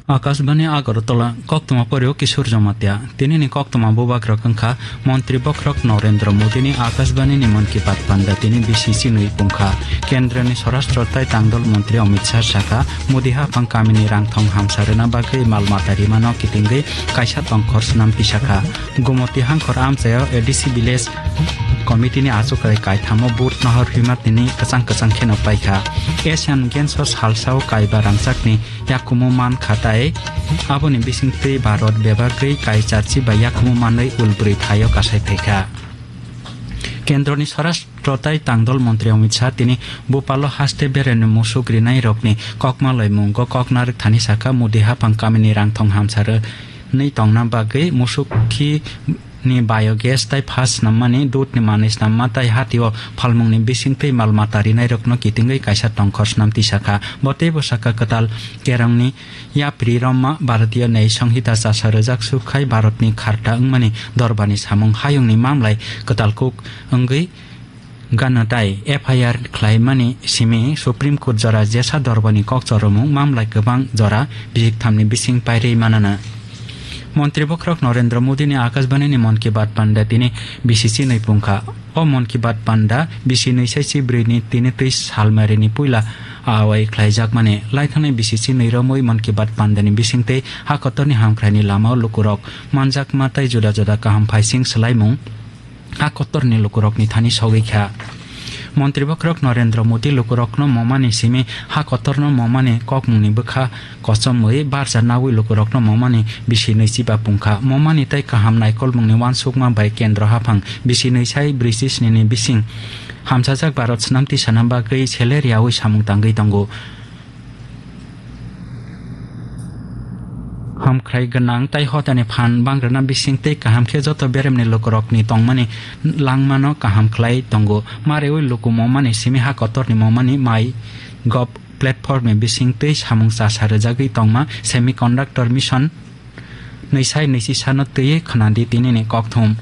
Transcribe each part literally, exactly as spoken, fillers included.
Akashbani Agartala, koktwma porio Kishore Jamatia. Tinini koktwma bubagrok wngkha Montri Bokhorok Narendra Modini Akashbani ni Mann Ki Baat panda tini bisi chinwi pungkha. Kendra ni Swarashtra tai Tangdol Montri Amit Shah sakha, Modi haphang kamini rangthong hamsa rwna bagwi mal mata rimano kitingwi kaisa tongkhor swnam tisakha. Gumoti hangkhor amchaio A D C Village Committee ni achukrai kaithamo vote nohor himar tini kwchang kwchang kheno paikha. Asian Games o salsao kaiba rangchakni yakumu man kha tai aboni bisingtwi Bharat bebagwi kai charchi bai yakumu manwi ulbrwi phaio kasai phaikha. Kendroni Swarashtra tai Tangdol Montri Amit Shah tini Bhopalo haste beremni musuk rinai rokni kokma loimungo kok narwk thani sakha, Modi haphang kamini rangthong hamsa rwnwi tongna bagwi musuk khi ni biogas tai pha snammani, dudh ni manwi snamma tai hatio phalmungni bisingtwi mal mata rinairokno kitingwi kaisa tongkhor snam tisakha. Bo teibo sakha kwtal kerongni yapri romma Bharatiya Nyay Sanhita chasa rwjak suk khai Bharatni kharta wngmani dorbarni samung hayungni mamlai kwtal kuk wngwi gana tai F I R khlaimani simi Supreme Court jora jesa dorbarni kok choromung mamlai kwbang jora bijik thamni bising pairwi manana. Montri Bokhorok Narendra Modini Akashbani ni Mann Ki Baat panda tini bisi chinwi pungkha. O Mann Ki Baat panda bisi nwi sai chi brwi ni tini twi salmarini puila awai khlaijakmani. Laithangnai bisi chinwi romwi Mann Ki Baat pandani bisingtwi ha kotorni hamkraini lamao lukurok manjakma tai juda juda kaham phaising swlaimung ha kotorni lukurokni thani sogwi kha. Montri Bokhorok Narendra Modi lukurokno momani simi ha kotorno momani kokmungni bwkha kochomwi barja nawi lukurokno momani bisi nwi chiba pungkha. Momani tai kaham naikolmungni uansukma bai kendro haphang bisi nwi sai brwi chi sni ni bising hamsajak Bharat swnam tisana bagwi seler yaui samung tangwi tongo. Hamkrai gwnang tai hotani phan bangrwna bising tei kaham khe joto beremni lukurokni tongmani langmano kaham khlai tongo. Mareui luku momani simi ha kotorni momani MyGov platformni bising twi samung chasa rwjagwi tongma Semiconductor Mission nwi sai nwi chi sano twiwi khwnadi tinini kokthum.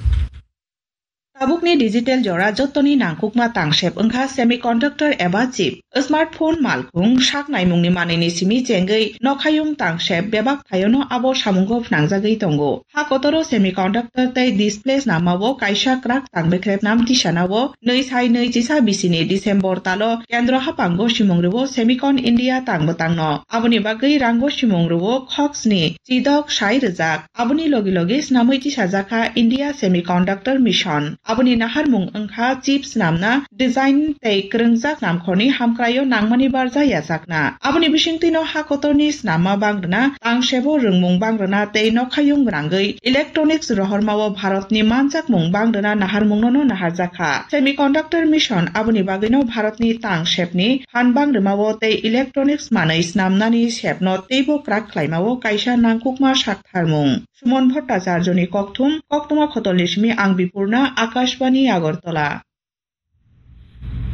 Tabukni digital jora jottoni nangkukma tangsep wngkha semiconductor eba chip. Smartphone malkhung sak naimungni manwini simi chengwi nokhayung tangsep bebak thaiono abo samungo phnangjagwi tongo. Ha kotoro semiconductor tei display snamao kaisa kwrak tangbekrep nam tisanao nwi sai nwi chisa bisini December talo kendro haphango simung rwo Semicon India tangbo tangno. Aboni bagwi rango simung rwo khoksni chidok sai rwjak. Aboni logi logi snamwi tisajakha India Semiconductor Mission. Aboni naharmung wngkha chip snamna, design tei kwrwngjak snamkhorni hamkraio nangmani barja yachakna. Aboni bisingtwino ha kotorni snamma bangrwna, tangsebo rwngmung bangrwna tei nokhayung gwnangwi electronics rohormao Bharatni manjakmung bangrwna naharmungnono naharjakha. Semiconductor Mission aboni bagwino Bharatni tangsepni phan bangrwmao tei electronics manwi snamnani sepno teibo kwrak khlaimao kaisa nangkukma saktharmung. Sumon Bhattacharjoni kokthum, koktwma khotolni simi ang Bipurna, Akashbani Agartala.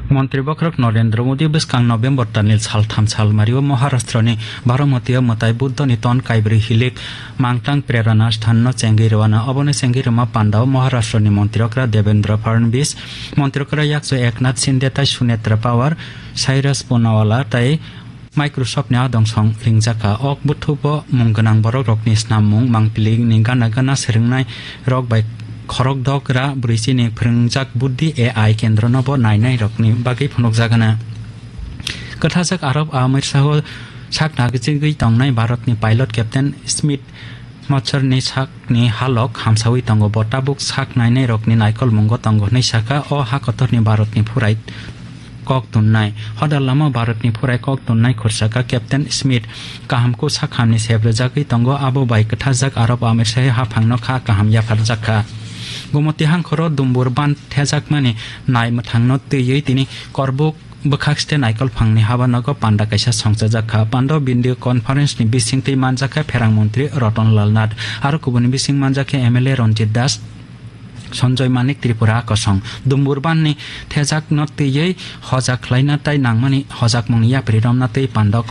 Montri Bokhorok Narendra Modi bwskang November talni saltham salmario Maharashtrani Baramatiyo mwtai Buddhani ton kaibrwi hilik mangtang Prerana Sthanno chengwi rwano. Obono chengwi rwma pandao Maharashtrani Montri Okra Devendra Fadnavis, Montri Okra Yakchu Eknath Shinde tai Sunetra Pawar, Cyrus Poonawalla tai Microsoft ni adong song ringjakha. Ok buthubo mung gwnang borok rokni snam mung mangpili ni gana gana swrwngnai rok bai khorok dok ra brwi chini phwrwngjak Buddhi A I kendro no bo nainai rokni bagwi phunukjagana. Kwthajak Arab Amir Saho sak nagijigwi tongnai Bharat ni pilot Captain Smith Machar ni sak ni halok hamsawi tongo, bo tabuk sak nainai rokni naikolmungo tongo hwnwi sakha. O ha kotorni Bharatni phurai kok tunnai. Hodar lama Bharatni phurai kok tunnai khursaka Captain Smith kaham kuk sak hamni sep rwjagwi tongo, abo bai kwthajak Arab Amir Sahi haphangno kha kaham yapharjakha. Gumoti hangkhoro Dumbur ban thejakmani nai mwthangno twiwi tini korbuk bwkhak site naikol phangni habanogo panda kaisa songchajak kha. Panda o video conference ni bisingtwi manjak kha Pherang Montri Ratan Lal Nath, aro kubuni bising manjak kha M L A Ranjit Das, Sanjoy Manik Tripura kosong. Dumbur ban ni thejakno twiwi hojak khlaina tai nangmani hojakmungni yapri romna tei panda o